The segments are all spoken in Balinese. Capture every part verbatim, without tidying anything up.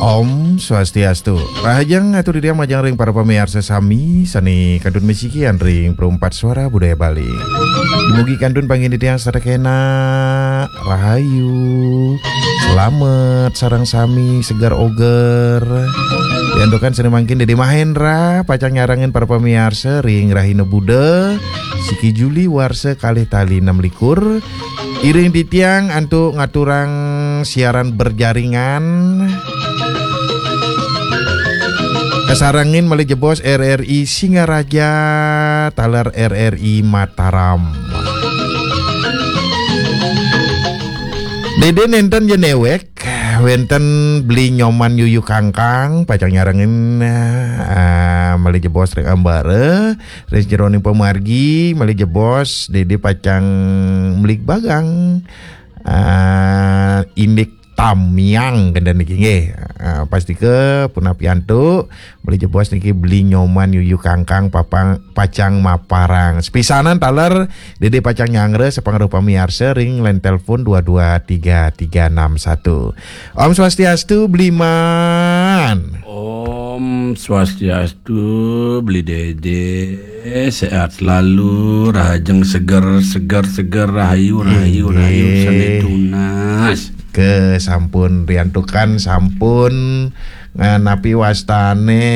Om Swastiastu. Rahajeng atur titiang majeng ring para pamiarsa sami sane kantun masikian ring Perempat Suara Budaya Bali. Dumugi kantun panggihin titiang sareng kenak rahayu. Slamet sareng sami seger oger. Diantukan sane mangkin Dede Mahendra pacang nyarengin para pamiarsa ring rahina Buda, siki Juli warsa kalih tali enam likur. Iring titiang antuk ngaturang siaran berjaringan. Kasarengin malih jebos R R I Singaraja, taler R R I Mataram. Dede nenten ja newek, wenten Beli Nyoman Yuyu Kangkang, pacang nyarengin, eh, malih jebos ring ambara. Ring jeroning pamargi, malih jebos, Dede pacang mligbagang, ah, indik tamiang kenten niki nggih. Ah, pastika punapi antuk, malih jebos niki Beli Nyoman Yuyu Kangkang papang, pacang maparang. Sepisanan taler, Dede pacang nyanggra sapangruh pamiarsa ring line telepon dua dua tiga tiga enam satu. Om Swastiastu, Bliman. Om Swastiastu, Beli Dede. Sehat selalu, rahajeng seger, seger, seger, rahayu, rahayu, rahayu, inggih, sane tunas. Ke sampun riantukan, sampun, eh, napi wastane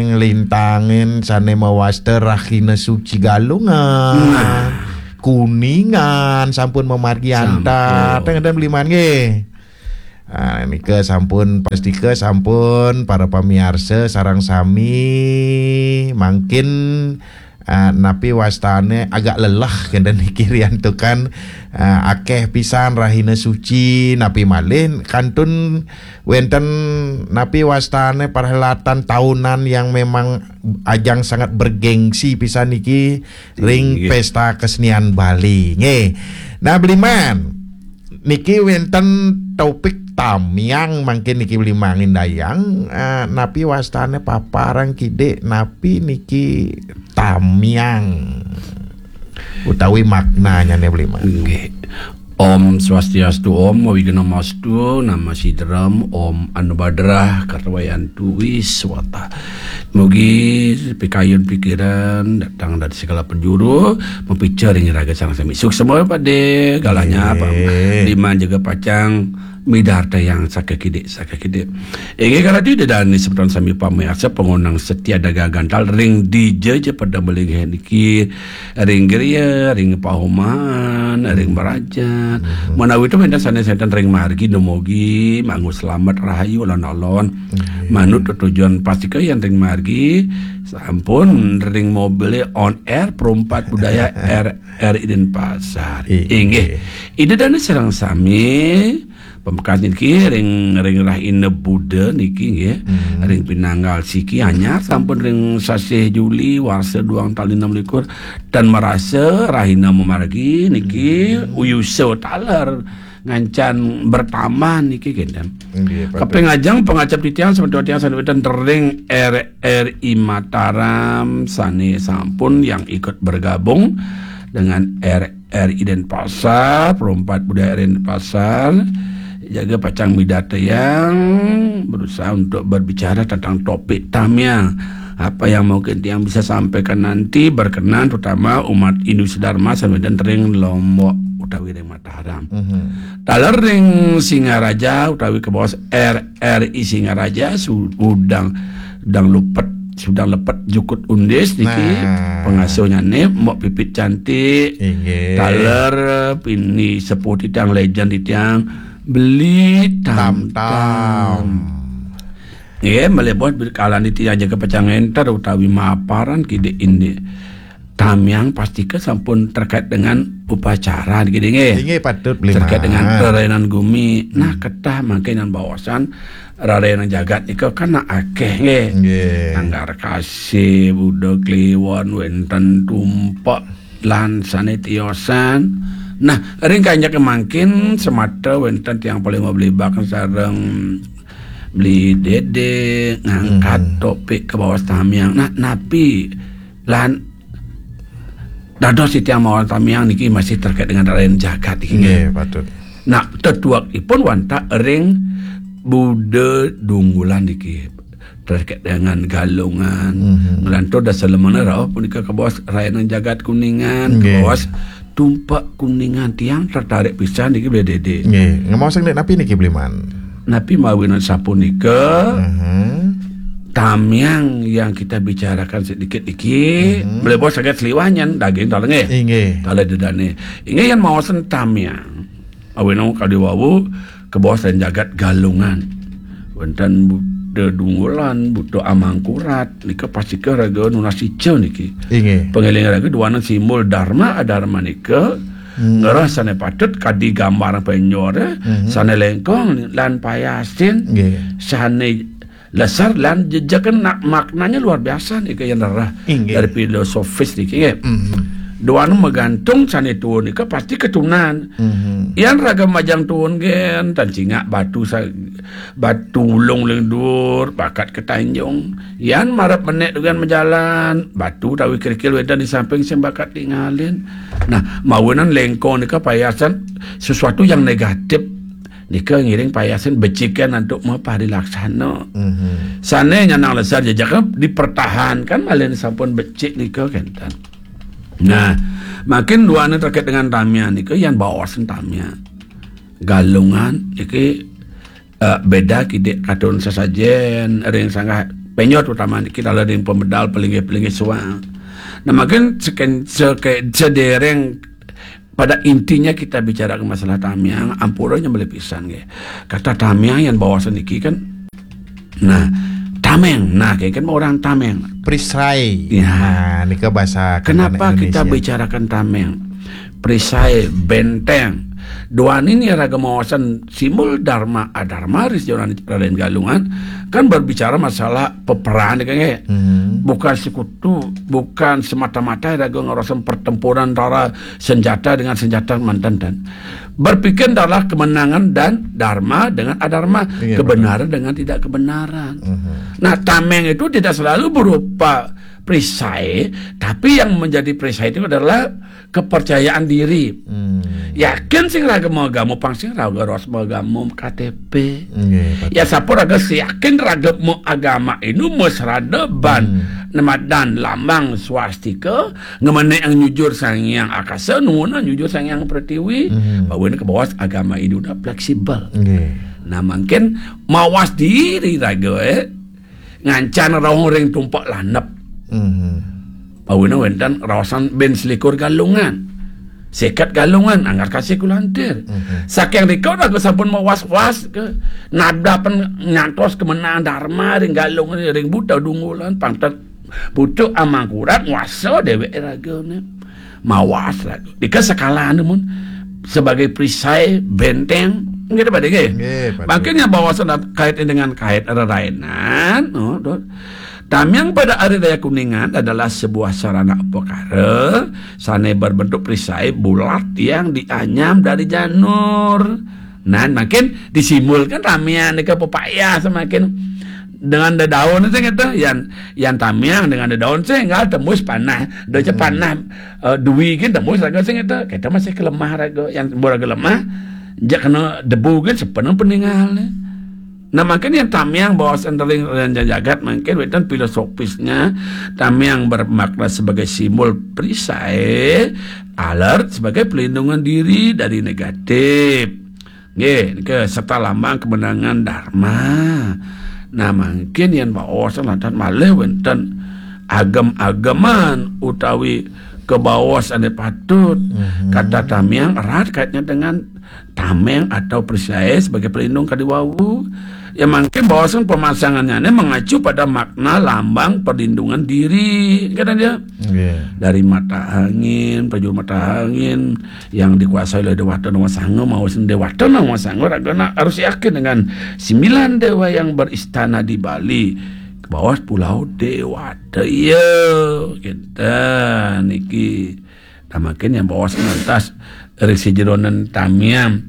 nglintangin sane mawasta Rahina Suci Galungan. Nah. Kuningan sampun mamargi antar. Sampun. Teng, teng, Bliman nggih. Ah, nika sampun, pastika sampun, para pamiarsa sareng sami mangkin, ah, napi wastane agak lelah kenten niki riantukan, ah, akeh pisan rahina suci, napi malih kantun wenten napi wastane perhelatan tahunan yang memang ajang sangat bergengsi pisan niki ring, inggih, pesta kesenian Bali nggih. Nah, Bliman, niki wenten topik tamiang mangkin niki Bliman indayang, eh, napi wastane paparang kidik, napi niki tamiang utawi maknanyane Bliman. Nggih. Om Swastiastu, Om Awighnamastu, Namo Siddham, Om Anubhadrah Kartwayantu Wiswata. Mugi pikayun pikiran datang dari segala penjuru, mapica ring iraga sareng sami. Suksma pade, galahnya apa? Nggih. Diman jaga pacang midarta yang sakakidik, sakakidik. Inggih karati Ida dane semeton sami pamiarsa pangondang setia dagang gantal ring dija ja pada malinggih niki, ring griya, ring paumahan, ring merajat. Mhm. Menawi to wenten sane senten ring margi dumugi, manggu slamet rahayu alon-alon. Nggih. Manut tetujon pastika yen ring margi, sampun ring mobile on air Perumpat Budaya R R I Denpasar. Inggih. Inggih. Ida dane sareng sami, pamekas niki ring, ring rahina Buda niki nggih. Hmm. Ring pinanggal siki anyar sampun ring sasih Juli warsa duang tali enam likur, tan marasa rahina mamargi niki, hmm, uyusa taler ngancan bertambah niki kenten. Nggih, patut. Kaping ajeng pangacep titiang semeton tiang sane wenten ring R R I Mataram sane sampun yang ikut bergabung dengan R R I Denpasar, Perumpat Budaya R R I Denpasar, jaga pacang midarta yang berusaha untuk berbicara tentang topik tamiang. Apa yang mungkin tiang bisa sampaikan nanti berkenan terutama umat Hindu sedharma sane wenten ring Lombok utawi ring Mataram. Mhm. Taler ring Singaraja utawi kabaos R R I Singaraja, sudang, dang lupet, sudang lepet jukut undis niki, nah, pangasuhnyane Mbok Pipit Cantik. Inggih. Taler pini sepuh titiang, legend titiang, Beli Tam Tam. Tam Tam. Nggih, malih bos, kalane titiang jaga pacang ngenter utawi maparan kidik indik tamiang pastika sampun terkait dengan upacara niki nggih. Inggih, patut, Beli Man. Terkait dengan rerainan gumi. Nah, hmm, ketah mangkin baosan rerainan jagat nika kan akeh nggih. Nggih. Nanggar Kasih, Buda Kliwon, wenten Tumpek, lan sane tiosan. Nah, ring kanjeng mangkin semata wenten tiang paling mablibak sareng Beli Dede ngangkat, hmm, topik kabaos tamiang. Nah, napi lan dados titiang maos tamiang niki masih terkait dengan rerainan jagat niki. Nggih, patut. Nah, tetuekipun wantah ring Buda Dunggulan niki terkait dengan Galungan. Mhm. Nglantur dasa lemana rauh punika kabaos Rayanan Jagat Kuningan, nggih, kabaos Tumpak Kuningan. Tiang tertarik pisan niki, Beli Dede. Nggih, ngemaos ring napi niki, Bliman? Napi mawinan sapunika? Mhm. Tamiang yang kita bicarakan sedikit niki, mhm, Beli Bos saged seliwah nyen daging taler nggih. Inggih. Taler dedane. Inggih, yen maosen tamiang. Awinang kadi wau kabaos ring jagat Galungan. Wenten Buta Dunggulan, Buta Amangkurat, nika pastika raga nunas ica niki. Inggih. Pangeling raga duaning simbol Dharma Adharma nika, hmm, ngrereh sane patut kadi gambar penjor, mhm, sane lengkong lan payasin, nggih, sane lesar lan jejegen nak maknanya luar biasa nika yen rereh, inggih, dari filosofis niki nggih. Mhm. Duaning magantung sane tuun nika pasti ketunan. Mhm. Yen raga majeng tuun nggih, tan cingak batu sa-, batu ulung ring duur, bakat ketanjung. Yen marep menek dugan majalan, batu utawi kerikil wenten di samping sing bakat tingalin. Nah, mawinan lengkong nika payasan sesuatu yang negatif. Nika ngiring payasan becikan antuk maparilaksana. Mhm. Sane nyanang lesar jejak dipertahankan malih sampun becik nika kenten. Nah, makin duana terkait dengan tamiang nika yen baosen tamiang. Galungan iki, eh, beda kidik katun sesajen ring sanggah penjor, terutama niki dalam ring pemedal pelinggih-pelinggih suang. Nah, makin seken-, seke-, sedereng pada intinya kita bicara masalah tamiang, ampura nyembelih pisan nggih. Kata tamiang yang baosen niki kan, nah, tameng, nah, kayak kan orang tameng. Perisai. Ya. Nah, nika bahasa kenapa kita Indonesia bicarakan tameng? Perisai, benteng. Duaning raga maosen simbol Dharma Adharma ring Raden Galungan kan berbicara masalah peperangan kan nggih. Hmm. Bukan sekutu, bukan semata-mata raga ngerosen pertempuran antara senjata dengan senjata manten dan berpikir adalah kemenangan dan dharma dengan adharma, iya, kebenaran betul, dengan tidak kebenaran. Mhm. Nah, tameng itu tidak selalu berupa perisai, tapi yang menjadi perisai itu adalah kepercayaan diri. Hmm. Yakin sing raga maagama, pang sing raga ros maagama K T P. Nggih, betul. Ya, sapa raga sing yakin raga maagama inu masrada ban, hmm, nemadan lambang swastika, ngemenek nyujur Sang Hyang Akasa, nuwun nyujur Sang Hyang Pratiwi, hmm, bahwa ini kebawas agama Hindu dah fleksibel. Nggih. Nah, mungkin mawas diri raga, eh, ngancan rauh ring tumpak landep. Mhm. Pawina wenten raosan ben selikur Galungan. Seket Galungan, anggar kasih kulantir. Mhm. Saking rika raga sampun mawas-was ke nadapen nyantos kemenangan Dharma ring Galungan, ring Buta Dunggulan, pangten Buta Amangkurat nguasa dewek ragane. Mawas raga. Dika sekalane mun sebagai perisai benteng, nggih, Pak, nggih? Nggih, Pak. Mangkin yang bawasan dat-, kait dengan kait rerainan, oh, dot. Tamiang pada Hari Raya Kuningan adalah sebuah sarana upakara sane berbentuk perisai bulat yang dianyam dari janur. Nah, makin disimbolkan tamiang nika pepayah semakin dengan dedaun sing itu, yan, yan tamiang dengan dedaun sing enggak tembus panah, doce, hmm, panah, eh, dui kan tembus raga sing itu. Kita masih kelemah raga, yang raga lemah, jak kena debu kan sepenuh peninggal. Nah, mungkin yang tamiang bawasan ring jagat mungkin wenten filosofisnya tamiang bermakna sebagai simbol perisai, alert sebagai pelindungan diri dari negatif. Nggih, nika serta lambang kemenangan Dharma. Nah, mungkin yang bawasan lantaran malih wenten agem-ageman utawi kebawas ane patut. Mhm. Kata tamiang erat kaitnya dengan tameng atau perisai sebagai pelindung kadi wau. Ya, mungkin bahwasanya pemasangannya ini mengacu pada makna lambang perlindungan diri, kata dia. Nggih. Dari mata angin, prajuru mata angin yang dikuasai oleh Dewata Nawasanga, mawasan Dewata Nawasanga, ragana harus yakin dengan sembilan dewa yang beristana di Bali, ke bawah Pulau Dewata. Iya, kita niki. Tamakin yang bawas ngantos ring sajeroning tamiang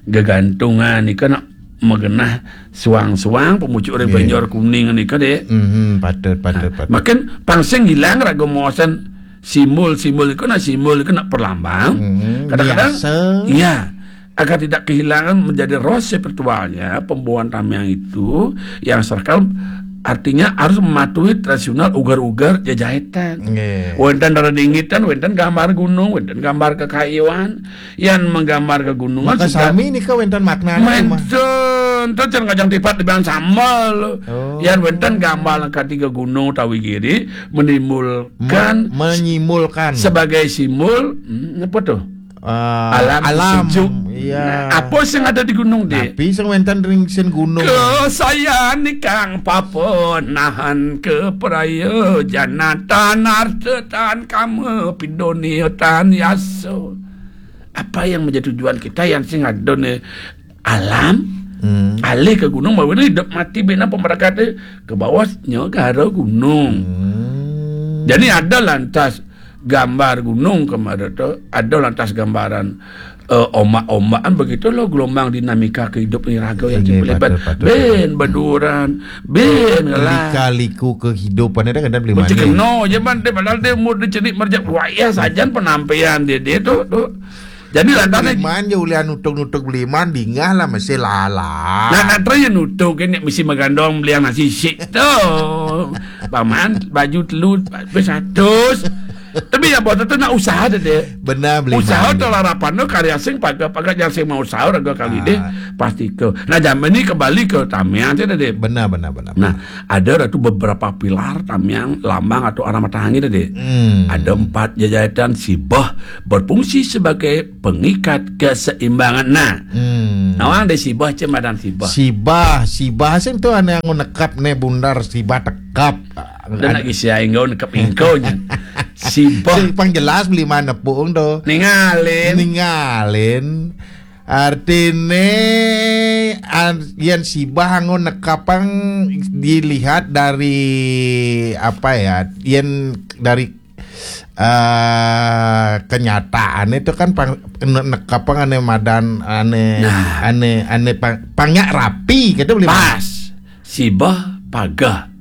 gegantungan nika nak magenah suang-suang pemucuk ring, nggih, penjor kuning nika, Dik. Mhm, patut, patut, nah, patut. Makin pang sing ilang raga maosan simbol-simbol iku, nak simbol iku nak perlambang. Mhm, kadang-kadang biasa. Iya. agar tidak kehilangan menjadi roh spiritualnya, pembawaan tamiang itu yang sakral, artinya harus mematuhi tradisional uger-uger jejaitan. Wénten reringitan, wénten gambar gunung, wénten gambar kekayuan, yang menggambar kegunungan. Maka sudah sami nika wénten makna. Wénten, terus jangan kacang tipat dibilang sambal. Oh. Yang wénten gambar katiga gunung tawi giri menimbulkan, menyimpulkan sebagai simbol, hmm, apa tuh? Eh, alam, alam sejuk. Iya. Nah, apa sing ada di gunung, Dik? Tapi sing wénten ring sing gunung. Kesayan ikang papa nahan ke praya janatan artetan kama pidoniatan yaso. Apa yang menjadi tujuan kita yang sing ada nih alam, hmm, alih ke gunung, bahwa ini hidup mati bina pemberkatnya ke bawahnya gara gunung. Hmm. Jadi ada lantas gambar gunung kemarin tuh, ada lantas gambaran eh, ombak-ombakan begitu loh, gelombang dinamika kehidupan raga yang, iya, lebat. Patut, patut. Ben beduran, ben ngelah. Lika-liku kehidupan itu kadang beli manis. Kena aja man, dia padahal dia umur dia cenik merjak wayah sajan penampian dia dia tuh tuh. Jadi lantaran beliman je ulian nutuk-nutuk beliman dingah lah masih lala. Nah, nanti yang nutuk ini mesti magandong beli yang nasi sik tuh. Paman baju telu seratus. Tapi ya buat itu nak usaha deh. Benar beli. Usaha tuh larapan tuh karya sing paga-paga yang sing mau usaha raga kali deh pasti ke. Nah, zaman ini kembali ke tamiang aja deh. Benar, benar, benar. Nah, ada tuh beberapa pilar tamiang lambang atau arah matahari deh. Hmm. Ada empat jejaitan sibah berfungsi sebagai pengikat keseimbangan. Nah, hmm, nawang deh sibah cemadan sibah. Sibah, sibah sing tuh aneh anggo nekap nih bundar sibah tekap. Udah nak isi aing gaun nekap ingko nya. Sibah. Sing pang jelas beli mana pung tuh. Ningalin. Ningalin. Artine an, yen sibah anggo nekapang dilihat dari apa ya? Yen dari eh kenyataan itu kan pang, ne-, nekapang ane madan ane, nah, ane ane pang, pangnya rapi gitu beli. Pas. Sibah pagah.